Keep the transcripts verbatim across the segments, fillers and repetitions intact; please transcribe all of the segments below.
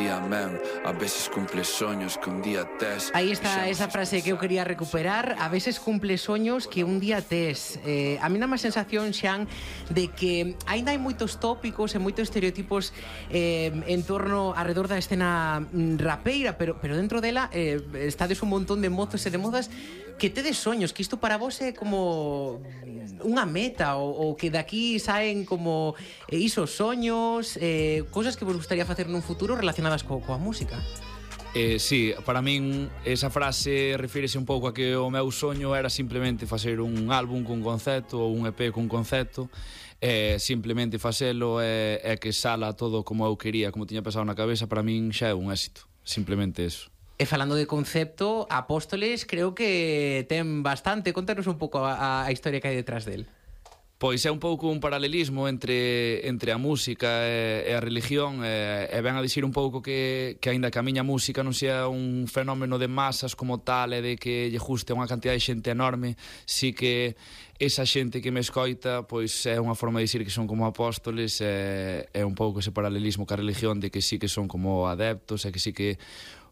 día, men. A veces cumples sueños que un día tes. Aí está esa frase que eu quería recuperar. A veces cumple soños que un día tes. eh, A mí dá má sensación, Xan, de que aínda hai moitos tópicos e moitos estereotipos eh, en torno alrededor da escena mm, rapeira, pero, pero dentro dela eh, estades un montón de mozos e de mozas que tedes soños, que isto para vos é como unha meta, ou, ou que daqui saen como eh, isos soños, eh, cosas que vos gustaría facer nun futuro relacionadas co, coa música. Eh, sí, para min esa frase refírese un pouco a que o meu soño era simplemente facer un álbum cun concepto ou un E P cun concepto, e simplemente facelo e, e que sala todo como eu quería, como tiña pensado na cabeza. Para min xa é un éxito, simplemente eso. E falando de concepto, Apóstoles creo que ten bastante. Contanos un pouco a, a historia que hai detrás del. Pois é un pouco un paralelismo entre, entre a música e, e a religión, e, e ven a dicir un pouco que, que aínda que a miña música non sea un fenómeno de masas como tal e de que lle guste unha cantidad de xente enorme, sí que esa xente que me escoita pois é unha forma de dicir que son como apóstoles, e é un pouco ese paralelismo ca religión de que sí que son como adeptos e que sí que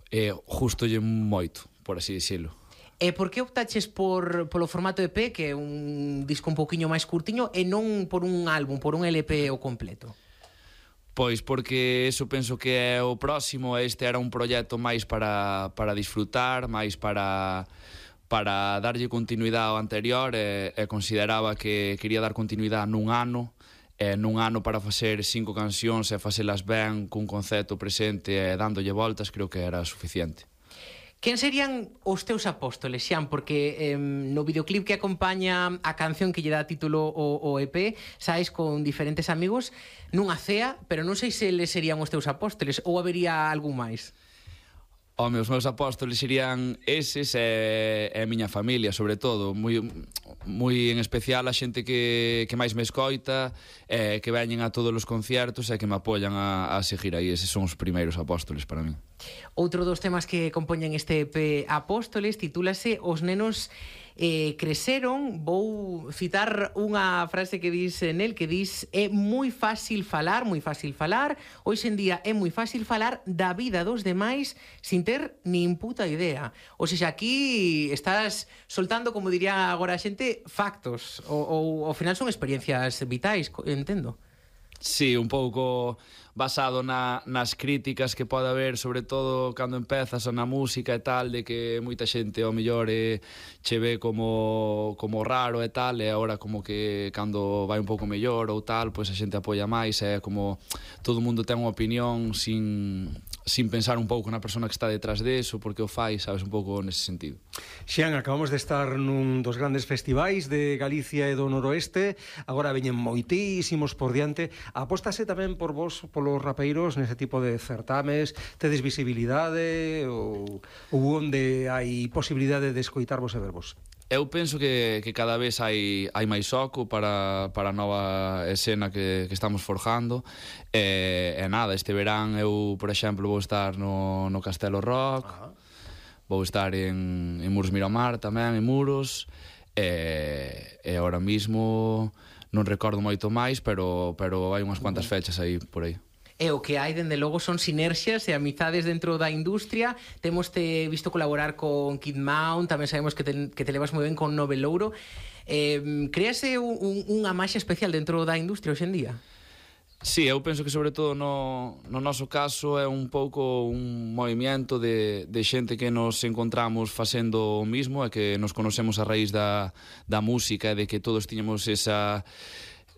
eh, justo lle moito, por así dicilo. E por que optaches por, polo formato E P, que é un disco un pouquiño máis curtiño, e non por un álbum, por un L P o completo? Pois porque eso penso que é o próximo. Este era un proxecto máis para, para disfrutar, máis para, para darlle continuidade ao anterior, e, e consideraba que quería dar continuidade nun ano, e nun ano para facer cinco cancións e facelas ben, cun concepto presente e dándolle voltas, creo que era suficiente. Quen serían os teus apóstoles, Xan? Porque eh, no videoclip que acompaña a canción que lle dá título o, o E P, saes con diferentes amigos nunha cea, pero non sei se eles serían os teus apóstoles ou habería algún máis. Home, os meus apóstoles serían eses e, e a miña familia, sobre todo. Moi, moi en especial a xente que, que máis me escoita, e que veñen a todos os conciertos e que me apoian a, a seguir aí. Eses son os primeiros apóstoles para mí. Outro dos temas que compoñen este E P Apóstoles titúlase Os nenos eh, creceron. Vou citar unha frase que dis nel, que dis: é moi fácil falar, moi fácil falar, hoxe en día é moi fácil falar da vida dos demais sin ter nin puta idea. Ou seja, aquí estás soltando, como diría agora a xente, factos, ou, ou ao final son experiencias vitais, entendo. Sí, un pouco basado na, nas críticas que pode haber, sobre todo cando empezas na música e tal, de que moita xente ao mellor eh, che ve como, como raro e tal, e agora como que cando vai un pouco mellor ou tal, pois a xente apoia máis, e como todo o mundo ten unha opinión sin, sin pensar un pouco na persona que está detrás deso, porque o fai, sabes, un pouco nese sentido. Xian, acabamos de estar nun dos grandes festivais de Galicia e do Noroeste, agora veñen moitísimos por diante. Apóstase tamén por vos, polos rapeiros, nese tipo de certames? Tedes visibilidade ou, ou onde hai posibilidade de escoitarvos e vervos? Eu penso que, que cada vez hai, hai máis oco para, para a nova escena que, que estamos forjando, e, e nada, este verán eu, por exemplo, vou estar no, no Castelo Rock. Ajá. Vou estar en, en Muros Miramar tamén, en Muros, e, e ahora mismo non recordo moito máis, pero, pero hai unhas cuantas fechas aí por aí. E o que hai, dende logo, son sinerxias e amizades dentro da industria. Temos te visto colaborar con Kid Mount, tamén sabemos que te, que te levas moi ben con Nove Louro. Eh, créase un, un, unha maxia especial dentro da industria hoxe en día? Sí, eu penso que sobre todo no, no noso caso é un pouco un movimiento de, de xente que nos encontramos facendo o mismo e que nos conocemos a raíz da, da música, e de que todos tiñamos esa...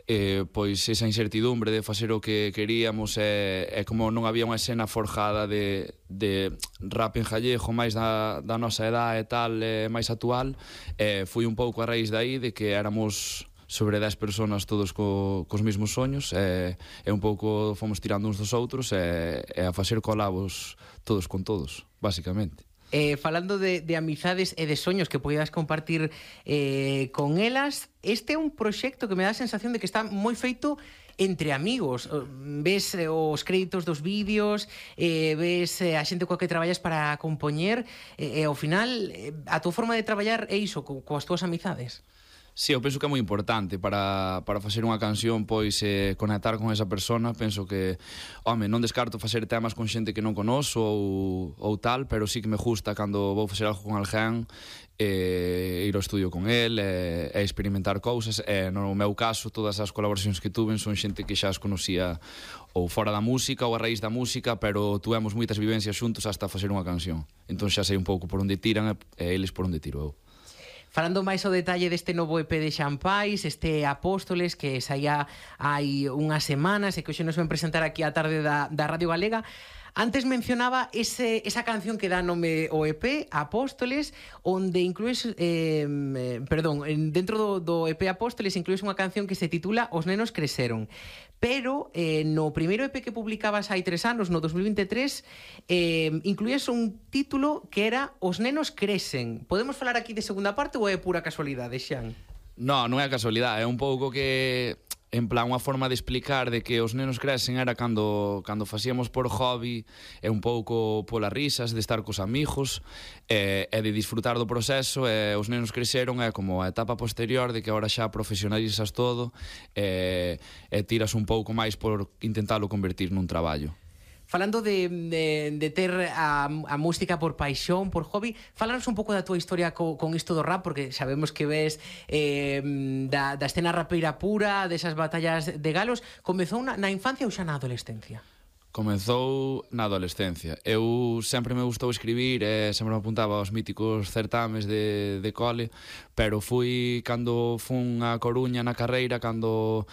Eh, pois esa incertidumbre de facer o que queríamos, e, e como non había unha escena forjada de, de rap en gallego máis da, da nosa edad e tal, e máis actual, eh, foi un pouco a raíz daí de que éramos sobre dez personas todos co, cos mesmos soños, e, e un pouco fomos tirando uns dos outros, e, e a facer colabos todos con todos, basicamente. Eh, falando de, de amizades e de soños que poidas compartir eh, con elas, este é un proxecto que me dá a sensación de que está moi feito entre amigos. Ves eh, os créditos dos vídeos, eh, ves eh, a xente coa que traballas para compoñer, e eh, ao final eh, a tua forma de traballar é iso, co, coas túas amizades. Sí, eu penso que é moi importante para, para facer unha canción, pois eh, conectar con esa persona. Penso que, home, non descarto facer temas con xente que non conozo ou, ou tal, pero sí que me gusta cando vou facer algo con alguén, eh, ir ao estudio con el e, e experimentar cousas. E no meu caso, todas as colaboracións que tuven son xente que xa as conocía ou fora da música ou a raíz da música, pero tuvemos moitas vivencias xuntos hasta facer unha canción. Entón xa sei un pouco por onde tiran e eles por onde tiro eu. Falando máis ao detalle deste novo E P de Xampais, este Apóstoles, que saía hai unhas semanas e que hoxe nos ven presentar aquí á tarde da, da Radio Galega, antes mencionaba ese, esa canción que dá nome ao E P, Apóstoles, onde inclues, eh, perdón, dentro do, do E P Apóstoles inclues unha canción que se titula Os nenos creceron. Pero eh, no primeiro E P que publicabas hai tres anos, no dos mil veintitrés, eh, incluías un título que era Os nenos crecen. Podemos falar aquí de segunda parte ou é pura casualidade, Xan? Non, non é casualidade, é un pouco que, en plan, unha forma de explicar de que os nenos crecen era cando, cando facíamos por hobby, e un pouco polas risas, de estar cos amigos, e, e de disfrutar do proceso, e os nenos creceron é como a etapa posterior de que agora xa profesionalizas todo, e, e tiras un pouco máis por intentalo convertir nun traballo. Falando de, de, de ter a, a música por paixón, por hobby, falanos un pouco da tua historia co, con isto do rap, porque sabemos que ves eh, da, da escena rapeira pura, desas batallas de galos. Comezou na, na infancia ou xa na adolescencia? Comezou na adolescencia. Eu sempre me gustou escribir e sempre me apuntaba aos míticos certames de, de cole, pero fui, cando fun a Coruña na carreira, cando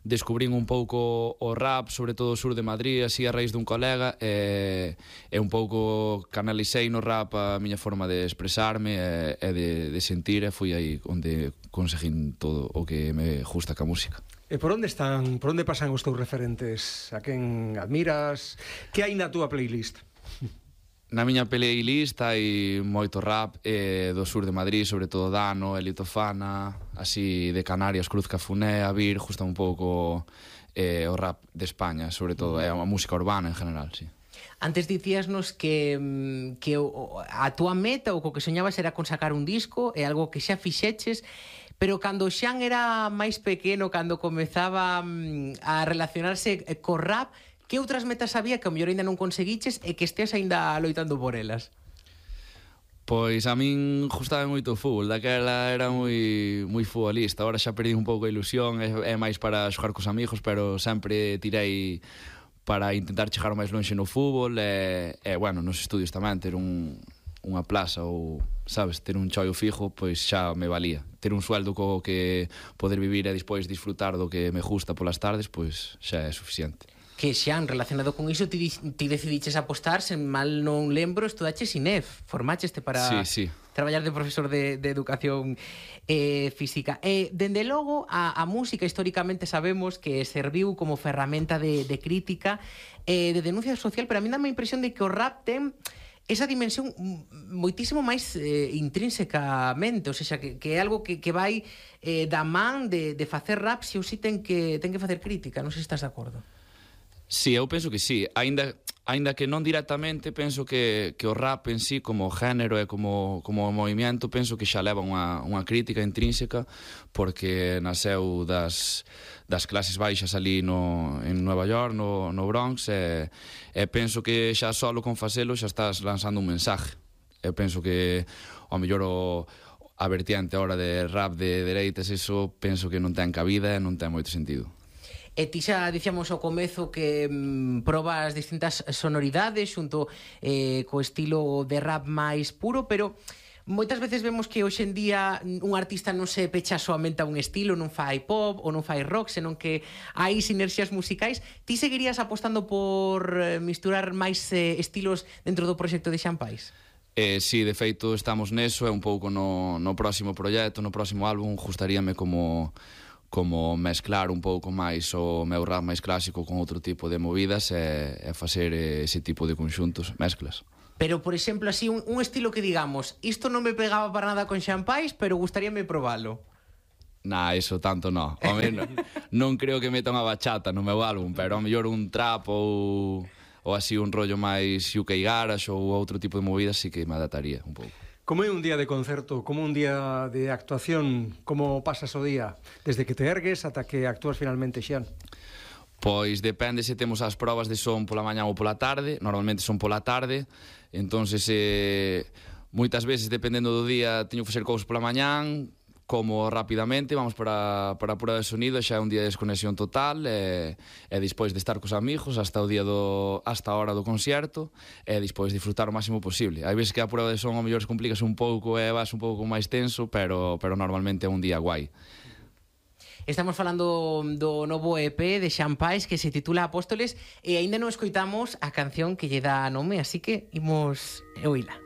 descubrín un pouco o rap, sobre todo o sur de Madrid, así a raíz dun colega, e, e un pouco canalicei no rap a miña forma de expresarme e, e de, de sentir, e fui aí onde conseguín todo o que me gusta ca música. E por onde están, por onde pasan os teus referentes? A quen admiras? Que hai na túa playlist? Na miña playlist hai moito rap eh, do sur de Madrid, sobre todo Dano, Elito Fana, así de Canarias, Cruz Cafuné, Avir, justa un pouco eh, o rap de España, sobre todo, é a música urbana en general, sí. Antes dicíasnos que, que a túa meta ou co que soñabas era con sacar un disco, é algo que xa fixeches, pero cando Xan era máis pequeno, cando comezaba a relacionarse co rap, que outras metas había que ao mellor ainda non conseguiches e que estés ainda loitando por elas? Pois a min gustaba moito o fútbol, daquela era moi moi futbolista, agora xa perdi un pouco a ilusión, é, é máis para xogar cos amigos, pero sempre tirei para intentar chegar máis lonxe no fútbol e, e bueno, nos estudios tamén, ter un, unha plaza ou, sabes, ter un choio fijo, pois xa me valía. Ter un sueldo co que poder vivir e despois disfrutar do que me gusta polas tardes, pois xa é suficiente. Que Xan, relacionado con iso, ti, ti decidiches apostar, sen mal non lembro, estudaches I N E F, formácheste para sí, sí. traballar de profesor de, de educación eh, física. E, dende logo, a, a música históricamente sabemos que serviu como ferramenta de, de crítica, eh, de denuncia social, pero a mí dá a impresión de que o rap ten esa dimensión moitísimo máis eh, intrínsecamente, ou seja, que, que é algo que, que vai eh, da man de, de facer rap, se ou si ten que, ten que facer crítica, non sei se estás de acordo. Sí, eu penso que sí, aínda, aínda que non directamente, penso que, que o rap en sí, como género e como, como movimiento, penso que xa leva unha, unha crítica intrínseca, porque naseu das, das clases baixas ali no, en Nueva York, no, no Bronx, e, e penso que xa solo con facelo xa estás lanzando un mensaje. Eu penso que, ao mellor, o, a vertiente ahora de rap de dereitas, eso penso que non ten cabida e non ten moito sentido. E ti xa dicíamos ao comezo que mm, probas distintas sonoridades xunto eh, co estilo de rap máis puro, pero moitas veces vemos que hoxe en día un artista non se pecha soamente a un estilo, non fai pop ou non fai rock, senón que hai sinerxias musicais. Ti seguirías apostando por misturar máis eh, estilos dentro do proxecto de Xampais? Eh, sí, de feito estamos neso, é un pouco no, no próximo proxecto, no próximo álbum, gustaríame como... como mezclar un pouco máis o meu rap máis clásico con outro tipo de movidas e, e facer ese tipo de conxuntos, mezclas. Pero, por exemplo, así, un, un estilo que digamos, isto non me pegaba para nada con Xampais, pero gustaríame probalo. Nah, eso tanto non. Home, non, non creo que meta unha bachata no meu álbum, pero ao mellor un trap ou, ou así un rollo máis U K garage ou outro tipo de movidas sí que me adaptaría un pouco. Como é un día de concerto, como un día de actuación, como pasas o día, desde que te ergues ata que actúas finalmente, Xian? Pois depende se temos as probas de son pola mañá ou pola tarde, normalmente son pola tarde, entonces eh, moitas veces dependendo do día teño que facer cousas pola mañán, como rapidamente, vamos para, para a prueba de sonido, xa é un día de desconexión total, e, e despois de estar cos amigos hasta o día do, hasta a hora do concerto, e despois disfrutar o máximo posible. Hai veces que a prueba de son ao mellor se complica un pouco e vas un pouco máis tenso, pero, pero normalmente é un día guai. Estamos falando do novo E P de Xian Pais que se titula Apóstoles e aínda non escoitamos a canción que lle dá nome, así que imos oíla.